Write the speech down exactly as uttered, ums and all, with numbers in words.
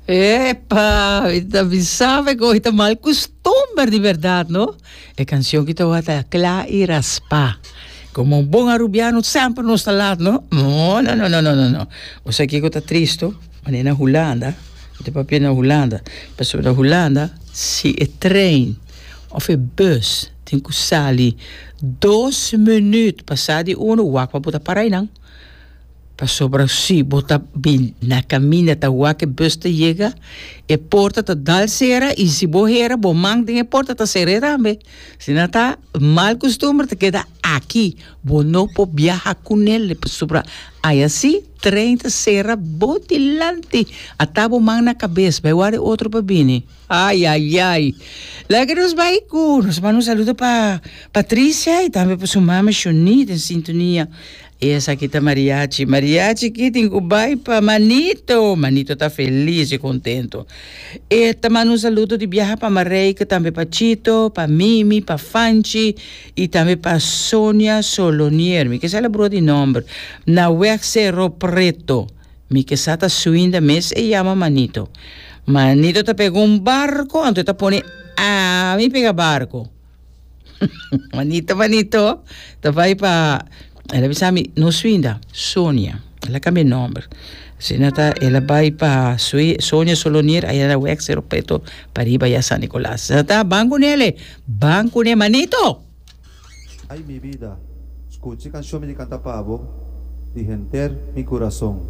Epa, mi sabe ku ta mal kustumber di berdat, no? E kanshon ku ta kla i raspa. Komo un bon arubiano semper nos ta laat, no? No, no, no, no, no, no, no. Osea ku ta tristu, ma na Hulanda, ta papia na Hulanda, pasobra na Hulanda, si e trein òf e bus tin ku sali dos minüt pasá di unu, wak pa bo ta para einan. Pasobra si bo ta bin na kaminda ta wak e bus ta yega, e porta ta dal sera i si bo hera bo man den e porta ta sera tambe. Asina ta mal kustumber ta keda aki, bo no por biaha kuné pasobra aya si trein ta sera bo dilanti, ata bo man na kabes, bai warda otro pa bini. Ai, ai, ai. Laga nos bai ku nos manda un saludo pa Patricia i tambe pa su mama Shoni den sintonia. Esaki ta mariachi. Mariachi ku tin ku bai pa Manito. Manito ta felis i kontentu. I ta manda un saludo di biaha pa Mareike, tambe pa Chito, pa Mimi, pa Fanchi i tambe pa Sonia Solonier. Mi ke sa bro di nòmber. Na Weg Cerro Preto. Mi ke sa ta suinda mes e yama Manito. Manito ta pega un barko, anto ta pone ami pega barko. Manito, Manito, ta bai pa el a bisa mi, no Swinda, Sonia. El a kambia nòmber. Asina ta, el a bai pa Sonia Solonier, aya na Weg Cerro Preto, pariba ya San Nicolas. Ta, ban kuné, ban kuné, Manito! Ay, mi bida, skucha e kanshon mi di kanta pa bo, di henter mi kurason.